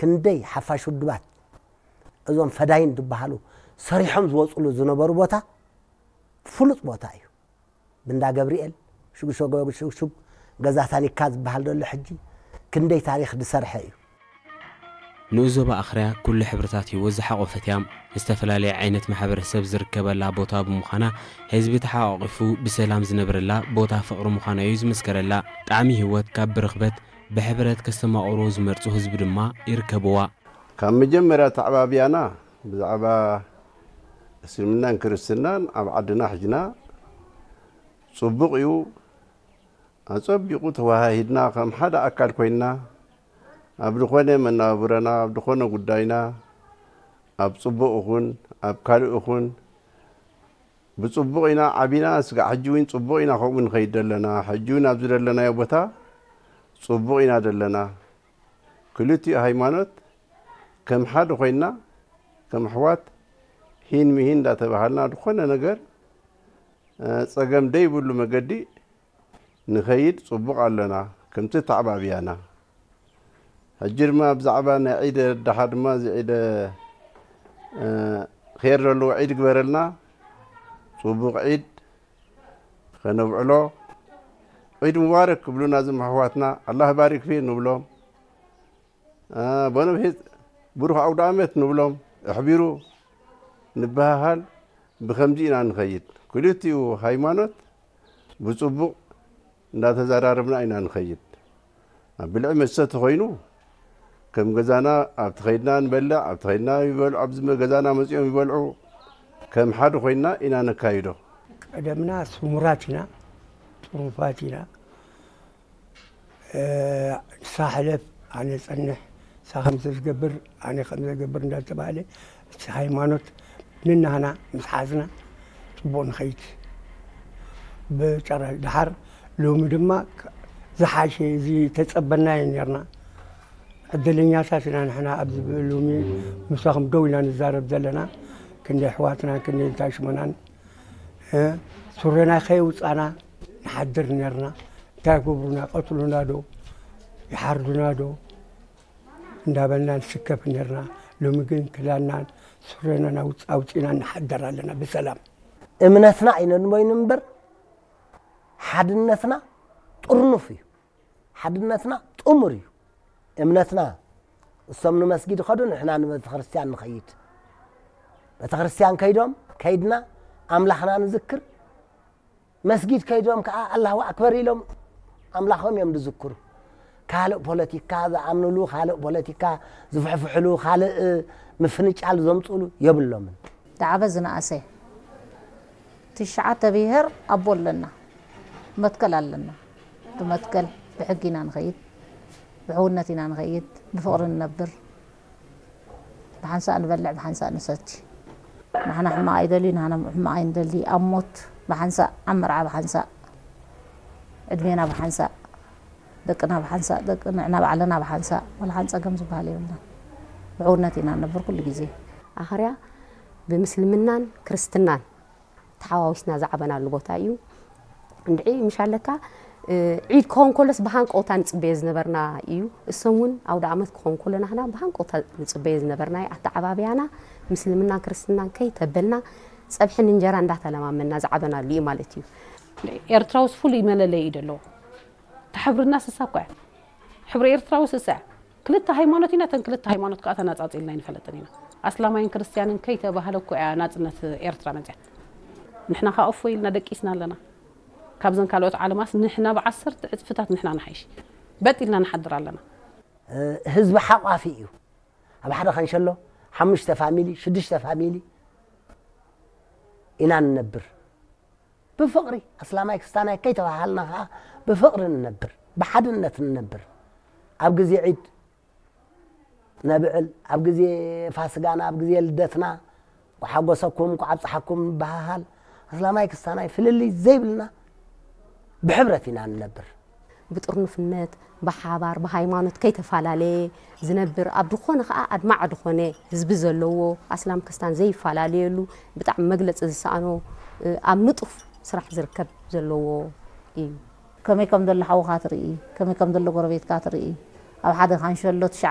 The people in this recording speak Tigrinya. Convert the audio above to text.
ክንደይ ሓፋሽ ውድባት እዞም ፈዳይን ዝበሃሉ ሰሪሖም ዝወፅሉ ዝነበሩ ቦታ ፍሉጥ ቦታ እዩ። ብእንዳ ገብርኤል ሽጉሸጎ ሽጉሽጉ ገዛ ታኒካ ዝበሃል ዘሎ ሕጂ ክንደይ ታሪኽ ዝሰርሐ እዩ። ንኡስ ዞባ ኣኽርያ ኩሉ ሕብርታት ህይወት ዝሓቖፈት እያ። ዝተፈላለየ ዓይነት ማሕበረሰብ ዝርከበላ ቦታ ብምዃና ህዝቢ ተሓቋቒፉ ብሰላም ዝነብረላ ቦታ ፍቕሪ ምዃና እዩ ዝምስከረላ። ጣዕሚ ህይወት ካብ ብርኽበት ብሕብረት ከስተማቕርዎ ዝመርጹ ህዝቢ ድማ ይርከብዋ። ካብ መጀመርያ ተዓባብያና ብዛዕባ እስልምናን ክርስትናን ኣብ ዓድና ሕጅና ጽቡቕ እዩ። ኣጸቢቑ ተወሃሂድና ከም ሓደ ኣካል ኮይንና ኣብ ዝኾነ መናብብሮና ኣብ ዝኾነ ጉዳይና ኣብ ጽቡቕ እኹን ኣብ ካልእ እኹን ብጽቡቕ ኢና ዓቢና። ስጋዕ ሕጂ እውን ጽቡቕ ኢና ከምኡ ንኸይድ ዘለና። ሕጂ እውን ኣብዚ ዘለናዮ ቦታ ጽቡቕ ኢና ዘለና። ክልቲኡ ሃይማኖት ከም ሓደ ኮይንና ከም ኣሕዋት ሂን ምሂን እንዳተባሃልና ዝኾነ ነገር ጸገም ደይብሉ መገዲ ንኸይድ ጽቡቕ ኣለና ከምቲ ተዓባብያና። ሕጂ ድማ ብዛዕባ ናይ ዒድ ደሓ ድማ እዚ ዒድ ኸይር ዘለዎ ዒድ ግበረልና። ጽቡቕ ዒድ ኸነብዕሎ ዒድ ሙባረክ ክብሉና ዝም ኣሕዋትና ኣላህ ባሪክ ፊ ንብሎም። በነብሒት ብሩኽ ኣውደ ኣመት ንብሎም። ኣሕቢሩ ንበሃሃል። ብኸምዚ ኢና ንኸይድ። ክልቲኡ ሃይማኖት ብጽቡቕ እንዳተዘራረብና ኢና ንኸይድ። ኣብ ብልዒ መስተ ተኾይኑ ከም ገዛና ኣብቲ ኸይድና ንበልዕ፣ ኣብቲ ኸይድና ይበልዑ፣ ኣብዚ ገዛና መጺኦም ይበልዑ። ከም ሓደ ኮይንና ኢና ነካይዶ። ቀደምና ስሙራት ኢና፣ ጥሩፋት ኢና። ንሳ ሕለፍ ኣነ ጸንሕ ንሳ ከምዚ ዝገብር ኣነ ከምዚ ዝገብር እንዳተባሃለ እቲ ሃይማኖት ንናህና ምስ ሓዝና ጽቡቕ ንኸይድ ብጨራ ድሓር ሎሚ ድማ ዝሓሸ እዚ ተጸበናዮ ነርና ዕድለኛታት ኢና ንሕና ኣብዚ ሎሚ ምሳኹም ደው ኢና ንዛረብ ዘለና ክንደይ ኣሕዋትና ክንደይ እንታይ ሽመናን ሱረና ከየውጻና ንሓድር ነርና እንታይ ይገብሩና ቀትሉና ዶ ይሓርዱና ዶ እንዳበልና ንስከፍ ነርና። ሎሚ ግን ክዳንናን ሱረናን ኣውጽ- ኣውጺና ንሓድር ኣለና ብሰላም። እምነትና ኣይነንቦይን እምበር ሓድነትና ጥርኑፍ እዩ። ሓድነትና ጥሙር እዩ። እምነትና እሶም ንመስጊድ ኸዱ ንሕና ንቤተክርስትያን ንኸይድ። ቤተክርስትያን ከይዶም ከይድና ኣምላኽና ንዝክር መስጊድ ከይዶም ከዓ ኣላሁ ኣክበር ኢሎም ኣምላኾም እዮም ዝዝክሩ። ካልእ ፖለቲካ ዝኣምንሉ፣ ካልእ ፖለቲካ ዝፍሕፍሕሉ፣ ካልእ ምፍንጫል ዘምፅእሉ የብሎምን። ዳዕበ ዝነኣሰ ትሽዓተ ብሄር ኣቦ ኣለና፣ መትከል ኣለና። ብመትከል ብሕጊ ኢና ንኸይድ፣ ብሕውነት ኢና ንኸይድ፣ ብፍቕሪ ንነብር። ብሓንሳእ ንበልዕ ብሓንሳእ ንሰቲ። ንሕና ሕማቕ ኣይደሊ፣ ንሕና ሕማቕ ኣይንደሊ። ኣብ ሞት ብሓንሳእ፣ ኣብ መርዓ ብሓንሳእ፣ ዕድሜና ብሓንሳእ፣ ደቅና ብሓንሳእ፣ ደቂ ንዕና ባዕልና ብሓንሳእ፣ ዋላ ሓንቲ ጸገም ዝበሃል የብልናን። ብሕውነት ኢና ንነብር ኩሉ ግዜ። ኣኸርያ ብምስልምናን ክርስትናን ተሓዋዊስና ዝዓበናሉ ቦታ እዩ። እንድዒ ምሽ ኣለካ ዒድ ክኸውን ከሎስ ብሃንቀውታ ንጽበዮ ዝነበርና እዩ። እሶም እውን ኣውደ ዓመት ክኸውን ከሎ ናህና ብሃንቀውታ ንጽበዮ ዝነበርና እዩ። ኣተዓባብያና ምስልምናን ክርስትናን ከይተበልና ጸብሕን እንጀራ እንዳተለማመና ዝዓበናሉ እዩ ማለት እዩ። ኤርትራውስ ፍሉይ መለለይ እዩ ዘለዎ። ተሕብርና ስሳ እኮ እያ። ሕብሪ ኤርትራዊ ስሳ እያ። ክልተ ሃይማኖት ኢና፣ ተን ክልተ ሃይማኖት ከዓ ተናጻጺልና ኣይንፈለጥን ኢና። ኣስላማይን ክርስትያንን ከይተባህለ እኮ እያ ናጽነት ኤርትራ መጽያ። ንሕና ከዓ እፎ ኢልና ደቂስና ኣለና። ካብዘን ካልኦት ዓለማስ ንሕና ብዓሰርተ ዕጽፍታት ንሕና ንሓይሽ። በጥ ኢልና ንሓድር ኣለና። ህዝቢ ሓቋፊ እዩ። ኣብ ሓደ ኸንሸሎ ሓሙሽተ ፋሚሊ ሽዱሽተ ፋሚሊ ኢና ንነብር። ብፍቕሪ ኣስላማይ ክስታናይ ከይተባሃልና ኸዓ ብፍቕሪ ንነብር፣ ብሓድነት ንነብር። ኣብ ግዜ ዒድ ነብዕል፣ ኣብ ግዜ ፋስጋና፣ ኣብ ግዜ ልደትና እንኳዕ ሓጎሰኩም እንኳዕ ኣብፀሓኩም ንበሃሃል። ኣስላማይ ክስታናይ ፍልልይ ዘይብልና ብሕብረት ኢና ንነብር። ብጥርኑፍነት ብሓባር ብሃይማኖት ከይተፈላለየ ዝነብር ኣብ ዝኾነ ከዓ ኣድማዕ ዝኾነ ህዝቢ ዘለዎ ኣስላም ክስታን ዘይፈላለየሉ ብጣዕሚ መግለፂ ዝሰኣኖ ኣብ ንጡፍ ስራሕ ዝርከብ ዘለዎ እዩ። ከመይ ከም ዘሎ ሓውኻ ትርኢ፣ ከመይ ከም ዘሎ ጎረቤትካ ትርኢ። ኣብ ሓደ ካንሸሎ ትሽዓ